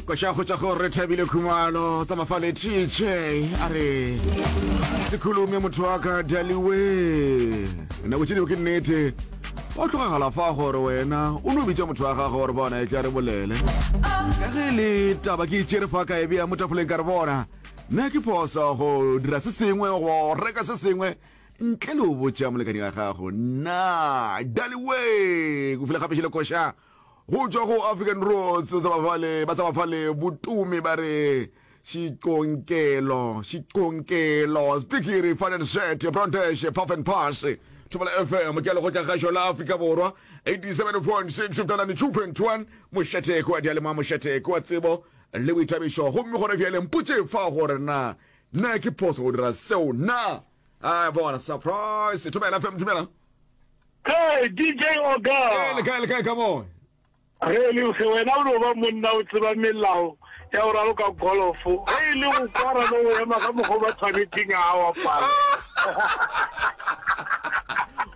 Koša go tša go re thabile khumalo tsa mafale TJ a re sekhulume motho wa ka daliwe nako tše dingwe ke nnete wa tlogagala fa gore wena o no bitša motho wa gago gore bona e tla re bolele ka ge le taba ke itšere fa ka e bea mo tafoleng ka re bona nna ke phoso go dira se sengwe go reka se sengwe ntle le go botša molekani wa gago na daliwe go file gape šele koša Go tšwa go African Roots tsa bafale ba tsa bafale botumi ba re Xiconkelo Xiconkelo Spikiri Fun and Set Brontesh Puff and Pass Thobela FM ke lekgotla kgašo la Afrika Borwa 87.6 Mtalane 2.1 mošate kwa dialema mošate kwa tsebo le boithabišo gomme gona bjale mpotše fa gore na na ke phoso go dira seo na a bona surprise Thobela FM dumela Hey, DJ Oga. Hey, le kae le kae ka mo? Ge le ge wena o no ba monna o tseba melao ya go raloka golofo. Ge e le go kwara le go ema ka mokgwa ba tshwanetseng a wa pala.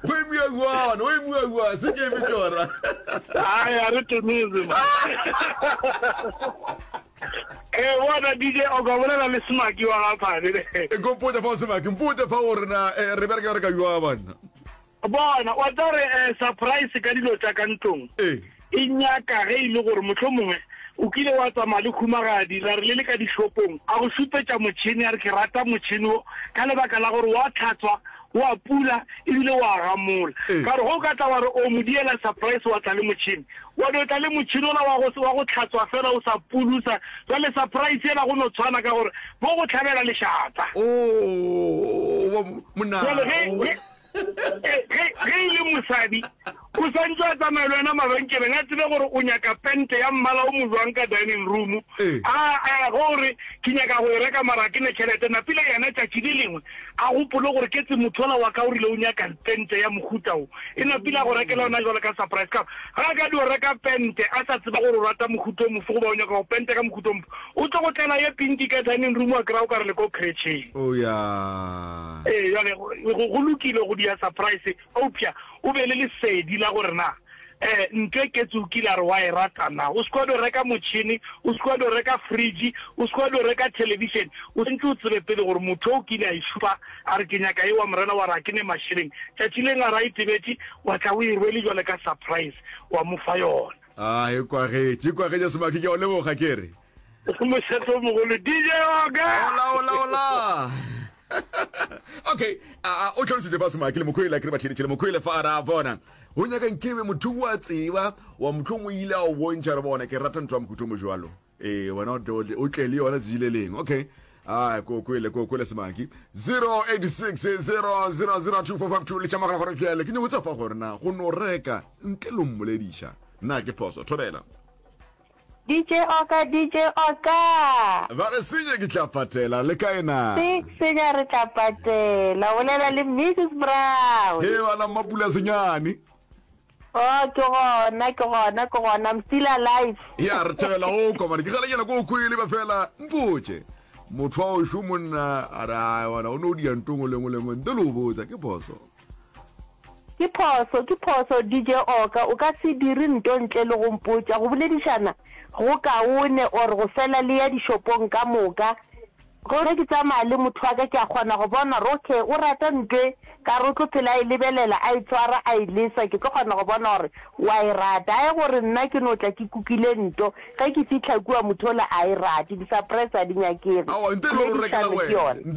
Go emiwa jwang? Go emiwa jwang? Se ke eme tsona. Ai, a re toneze ma. Eh, bona DJ Oga bolela le Smaki wa ga Phane. E ko mpotse fa o Smaki, mpotse fa gore na eh, re bereka re ka jwang banna. Bona, wa tseba gore eh, surprise ka dilo tša ka ntlong Ee. e nyaka ge e le gore mohlomongwe o kile wa tsamaya le khumagadi la re le le ka dishopong a go šupetša motšhene a re ke rata motšhene wo ka lebaka la gore wa tlhatswa wa pula ebile wa gamola Ee. ka gore ge o ka tla wa re o mo diela surprise wa tla le motšhene wa no tla le motšhene ola wa go wa go tlhatswa fela o sa pulusa jwale surprise yela go no tshwana ka gore bo go hlabela lešata Oh, wa- monna. jwale ge ge Ge, ge e le mosadi, o santse a tsamaya le wena mabenkeleng, a tsebe gore o nyaka pente ya mmala o mojwang ka dining room. Ee. A, a, ge o re, Ke nyaka go e reka mara ga ke ne tšhelete, napile yena tšatši le lengwe a gopole gore ke tse motho ola wa ka o rile o nyaka pente ya mohuta wo. E napile a go rekela yona jwalo ka surprise. Ka gore ge a ka dio reka pente a sa tseba gore o rata mohuta o mofe goba o nyaka go penta ka mohuta o mofe, o tlo go tlela ye pinki ka dining room wa kry-a o ka re le ko creche-eng. Oh ya. Ee, bjale go, go lokile go dia surprise, eupša o be le lesedi la gore na um ntho e ketse o kile a re wa e rata na. O se ke wa dio reka motšhene, o se ke wa dio reka fridge, o se ke wa dio reka television, o santse o tsebe pele gore motho o kile a e šupa a re ke nyaka ye wa morena wa re ga ke ne mašeleng, tšatši leng a re a itebetše wa tla o e rwele jwale ka surprise wa mo fa yona. A e kwagetše, e kwagetše Semaki, ke a o leboga ke re. Mošate o mogolo DJ Oga. Ola ola ola. Okay, a a o tlhalositse fa Semaki le Mokwele ke re ba theletše le Mokwele fa ra bona. Go nyaka nkebe motho wa tseba wa mohlomong o ile a o bontšha re bona ke rata ntho ya mohuta o mojwalo. Ee, wena o tle o tle le yona tšatši le lengwe. Okay. A ko kwele ko kwele Semaki. 086 0002452 le tšamagala gore bjale ke nyako tsapa gore na go no reka ntle le mmolediša na ke phoso. Thobela. DJ Oka, DJ Oka! Ba re senya ke tla patela, le kae na? Se, senya re tla patela. O bolela le Mrs Brown. He bana Mmapula Senyane. Oh, ke gona, ke gona, ke gona. I'm still alive. Ya, re thabela go kwa mane. Ke galenyana ko o kwele ba fela mpotše. Motho wa ošo monna a re ai bona o no dia ntong le ngwe le ngwe ntle le o botsa ke phoso. Ke phoso, ke phoso, DJ Oka, o ka se dire nto ntle le go mpotša. Go boledišana go kaone or go fela le ya dishopong ka moka. Ge ke tsamaya le motho wa ka ke a kgona go bona gore okay o rata nto e, ka re o tlo phela a e lebelela, a e tshwara, a e lesa, ke tlo kgona go bona gore o a e rata. Ae gore nna ke no tla ke kukile nto, ge ke fihla kua motho ola a e rate. Di-surprise ga di nyakege. Aowa, ntle le go rekela Poledišano ke wena. yona.